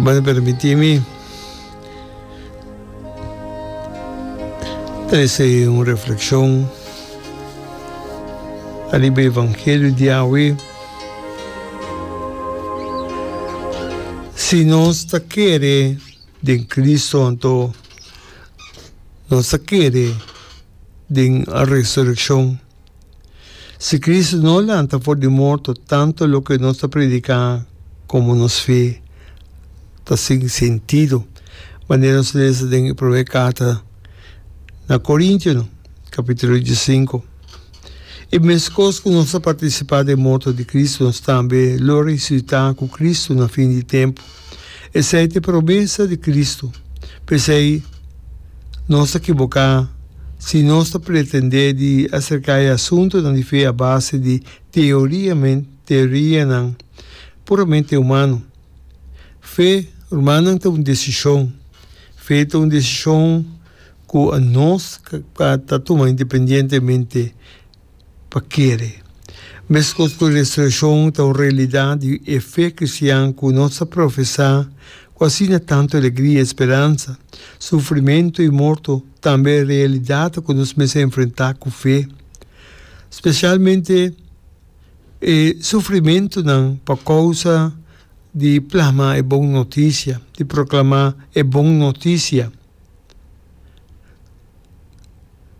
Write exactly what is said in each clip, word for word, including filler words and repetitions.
Ruman permití mi trese un reflekshon ariba e evangelio di awe. Si nos ta kere den Cristo anto nos ta kere den resurekshon. Si Cristo no lanta for di morto, tanto loke nos ta prediká komo nos fe ta sin sentido, manera nos lesa den e promé karta na Korintionan, kapítulo diesinku. I meskos ku nos ta partisipá den morto di Cristo, nos tambe lo resusitá ku Cristo na fin di tempu. Esei ta e promesa di Cristo. P'esei, nos ta kiboká si nos ta pretendé di aserká e asuntunan di fe a base di teorianan puramente humano. Fe, rumannan, ta un desishon. Fe ta un desishon ku nos ta tuma independientemente pa kere. Meskos ku resurekshon ta un realidat di e fe kristian ku nos ta profesá ku asina tantu alegria i speransa, sufrimentu i morto tambe realidat ku nos mester enfrentá ku fe. Spesialmente e sufrimentunan pa kousa di plama e bon notisia, di proklamá e bon notisia.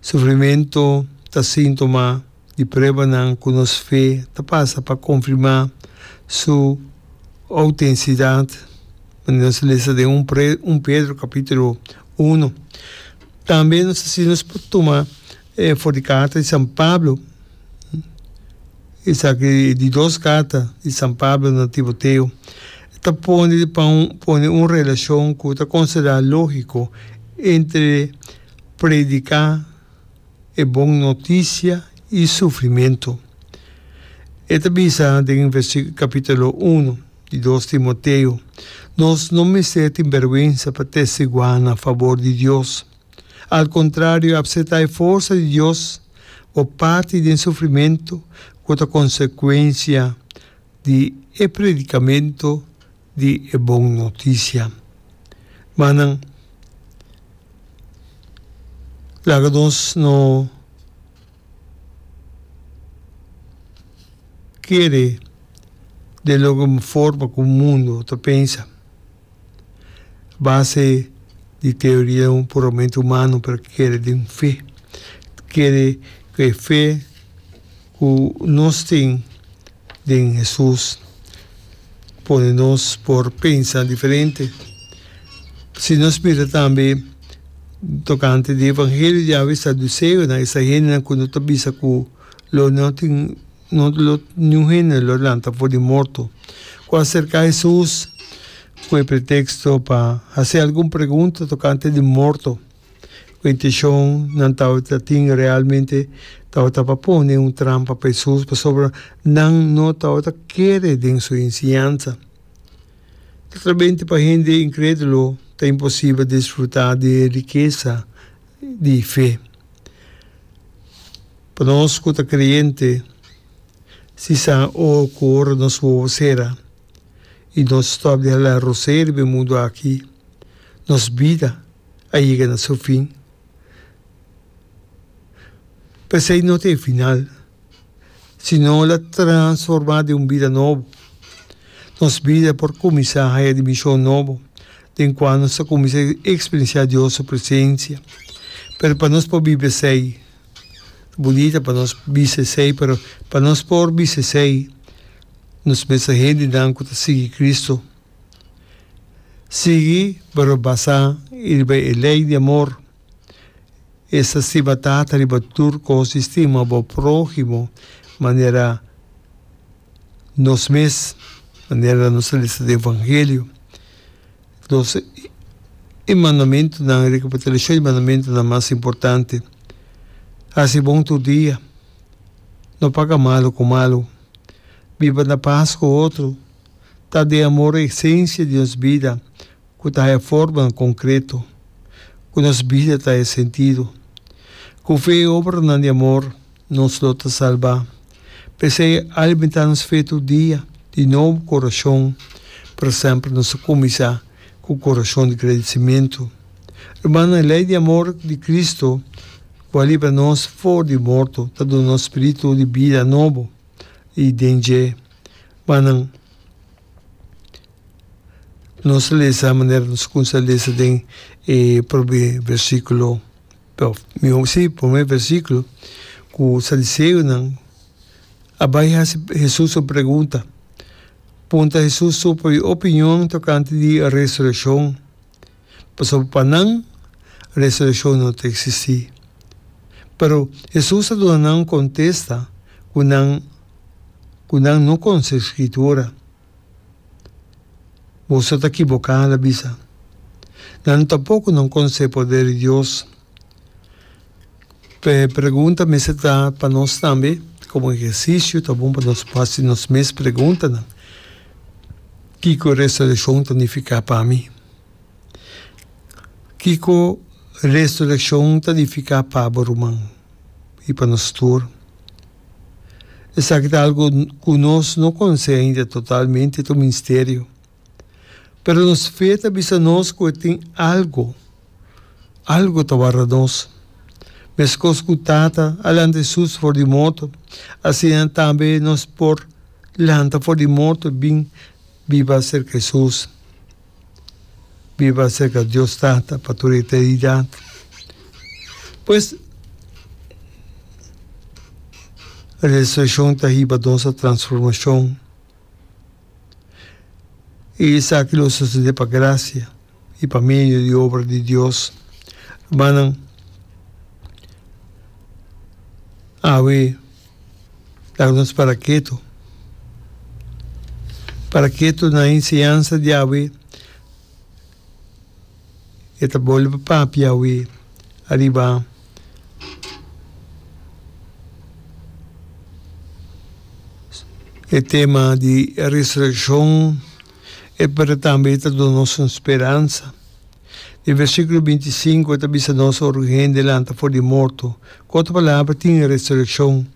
Sufrimentu ta síntoma di pruebanan ku nos fe ta pasa pa konfirmá su outensidat, manera nos ta lesa den un Pedro kapítulo uno. Tambe nos ta si nos por tuma for di karta di San Pablo, esaki e di dos karta di San Pablo na Timoteo, e ta pone pa un pone un relashon ku ta konsiderá lógiko entre prediká e bon notisia i sufrimentu. E ta bisa den kapítulo unu di dos Timoteo, Nos no mester tin bèrgwensa pa testiguá na fabor di Dios. Al kontrario, apseptá e forsa di Dios bo parti den sufrimentu ku ta konsekuensia di e predikamentu di e bon notisia. Manan, laga nos no kere den loke forma ku mundu ta pensa, base di teoria puramente humano, pero kere den fe, kere ku e fe ku nos tin den Hesus pone nos por pensa diferente. Si nos mira tambe tokante di evangelio di awe saduseonan, esa hendenan ku no ta bisa ku lo no tin no lo niun hende lo lanta for di morto, ku a serka Hesus ku e preteksto pa hasi algun pregunta tokante di morto. Ku inteshon nan tabata tin realmente tabata pa pone un trampa pa Hesus, pasobra nan no tabata kere den su enseñansa. Naturalmente pa hende inkrédulo ta imposibel disfrutá di e rikesa di fe. Pa nos ku ta kreyente, si sa o ku ora nos wowo sera i nos stòp di hala rosé riba e mundu aki, nos bida a yega na su fin. P'esei no ta e final, sino la transformá den un bida nobo. Nos bida por kuminsá haya dimenshon nobo, den kua nos ta kuminsá eksperensiá Dios su presensia. Pero pa nos por biba esei, ta bunita pa nos bisa esei, pero pa nos por bisa esei, nos mester hendenan ku ta sigui Cristo. Sigui pero basá riba e lei di amor. Esta stima Tata riba tur kos i stima bo próhimo manera nos mes, manera nos ta lesa den Evangelio. Dos e mandamentunan, rekapitulashon di mandamentunan mas importante, Hasi bon tur dia, no paga malu ku malu, biba na pas ku otro. Ta den amor e esensia di nos bida ku ta haya formanan konkreto, ku nos bida ta haya sentido. Ku fe i obranan di amor nos lo ta salbá. P'esei alimentá nos fe tur dia di nobo ku orashon, pero semper nos ta kuminsá Ku kurason di gradisimentu. Rumannan, e lei di amor di Kristu ku a libra nos for di morto ta duna nos spiritu di bida nobo i den dje. Rumannan, nos a lesa manera nos kuminsá lesa den e promé versíkulo, mihó sí, promé versíkulo, ku sadiseonan a bai hasi Hesus un pregunta. Puntra Hesus su opinion tokante di resurekshon, pasobra pa nan resurekshon no ta eksistí. Pero Hesus a duna nan un kontesta ku nan ku nan no konosé Skritura. Boso ta kiboká, el a bisa. Nan tampoko no konosé poder di Dios. E pregunta mester ta pa nos tambe, komo ehersisio ta bon pa nos hasi nos mes preguntanan, Kiko resurekshon ta nifiká pa mi? Kiko resurekshon ta nifiká pa bo ruman i pa nos tur? Esaki ta algu ku nos no konosé ainda totalmente, ta un misterio. Pero nos fe ta bisa nos ku e tin algu, algu ta warda nos. Meskos ku Tata a lanta Hesus for di morto, asina tambe nos por lanta for di morto i bin biba serka Hesus, biba serka Dios Tata pa tur eternidat. Pues, resurekshon ta hiba nos a transformashon. I esaki lo sosodé pa grasia i pa medio di obra di Dios. Rumannan, awe laga nos para ketu, para ketu na e enseñansa di awe. E ta bolbe papia awe ariba e tema di resurekshon, e pero tambe e ta duna nos un speransa. Den versíkulo binti i sinku e ta bisa nos ora un hende lanta for di morto, ku otro palabra tin resurekshon.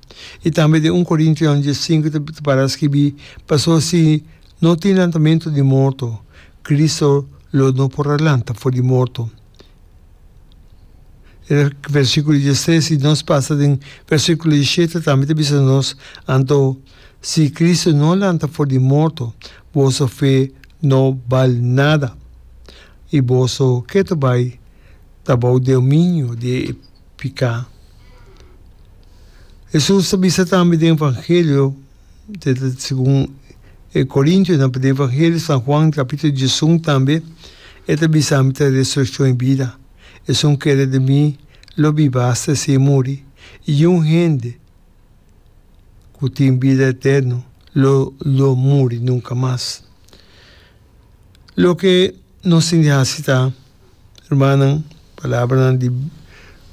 I tambe den un Korintionan dies sinku ta para skibí, Pasobra si no tin lantamentu di morto, Cristo lo no por a lanta for di morto. E versículo diestres i nos pasa den versículo diesshete tambe ta bisa nos, Anto, si Cristo no lanta for di morto, boso fe no bal nada, i boso ketu bai ta bou dominio di e piká. Hesus ta bisa tambe den Evangelio. Segun e Korintionan, pero den Evangelio San Juan capítulo diesun tambe e ta bisa, Mi ta resureccion i bida. Esun kere den mi lo biba asta si e muri, i un hende ku tin bida eterno lo lo muri nunka mas. Loke nos tin di hasi ta, hermannan, palabranan di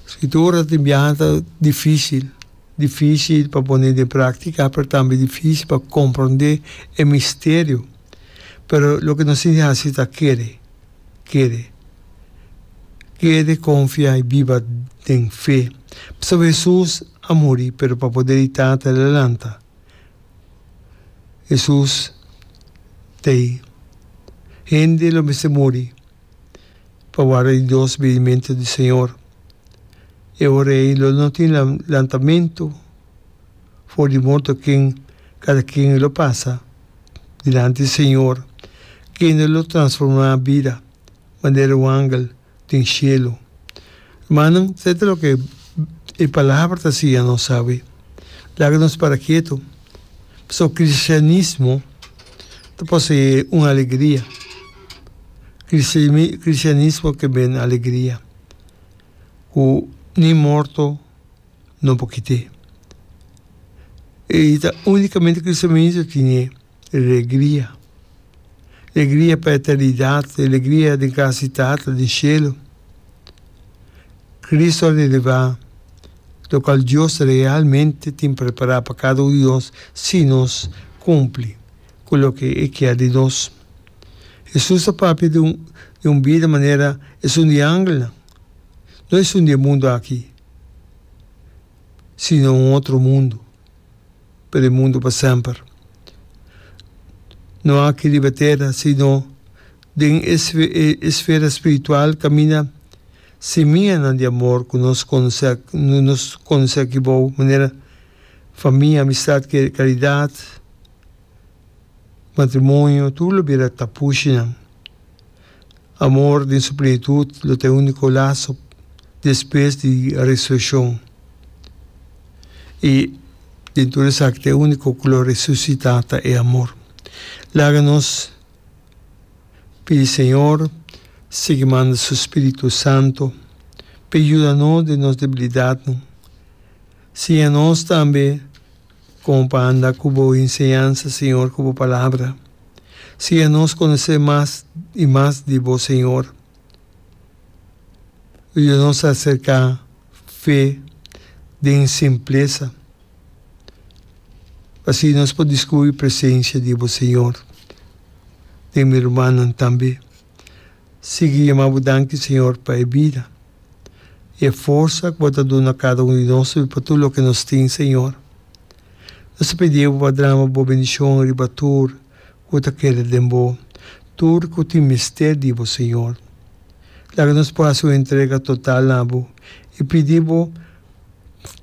Skritura tin biaha ta difísil, difísil pa pone den práktika, pero tambe difísil pa komprondé e misterio. Pero loke nos tin di hasi ta kere, kere, kere, konfia i biba den fe. Pasobra Hesus a muri, pero pa poder di Tata el a lanta. Hesus t'ei. Hende lo mester muri pa warda di dos binimentu di Señor. E ora ei lo no tin lantamentu for di morto ken kada ken lo pasa dilanti di Señor, kende lo transformá bida manera un angel den shelu. Hermannan, esei ta loke e Palabra ta siña nos awe. Laga nos para ketu, pasobra kristianismo ta poseé un alegria. Kristianismo ke ben alegria ku ni morto no por kit'é. I ta únikamente kristianismo tine alegria. Alegria pa eternidat, alegria den kas di Tata den shelu. Cristo a relevá lokual Dios realmente tin prepará pa kada un di nos si nos kumpli ku loke E kier di nos. Hesus a papia di un di un bida manera esun di angelnan, no esun di e mundu aki, sino un otro mundu. Pero e mundu pa semper. No aki riba tera, sino Den e esfera spiritual kaminda simianan di amor ku nos konosé nos konosé aki bou, manera famia, amistat, karidat, matrimonio, tur lo bira tapushinan. Amor den su plenitut lo ta e úniko laso despues di resurekshon. I den tur esaki ta e úniko ku lo resusitá ta e amor. Laga nos pidi Señor sigui manda su Spiritu Santo pa e yuda nos den nos debilidatnan. Siña nos tambe kon pa anda ku bo enseñansa, Señor, ku bo Palabra. Siña nos konosé mas i mas di bo, Señor. Yuda nos aserká fe den simplesa, pa asina nos por diskubrí presensia di bo, Señor, den mi rumannan tambe. Sigui yama bo danki, Señor, pa e bida i e forsa ku bo ta duna kada un di nos i pa tur loke nos tin, Señor. Nos ta pidi bo pa drama bo bendishon riba tur ku ta kere den bo, tur ku tin mester di bo, Señor. Laga nos por hasi un entrega total na bo i pidi bo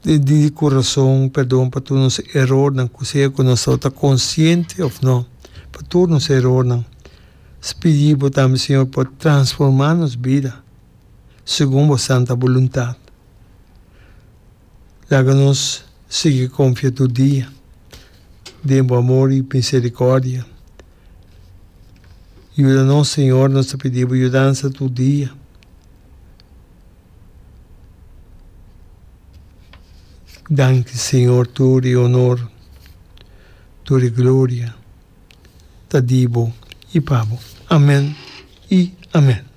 di kurason perdon pa tur nos erornan, ku sea ku nos tabata konsiente òf no, pa tur nos erornan. Nos pidi bo tambe, Señor, pa transformá nos bida segun bo santa boluntat. Laga nos sigui konfia tur dia den bo amor i miserikòrdia. Yuda nos, Señor, nos ta pidi bo yudansa tur dia. Danki, Señor, tur e honor, tur e gloria ta di bo i pa bo. Amen i amen.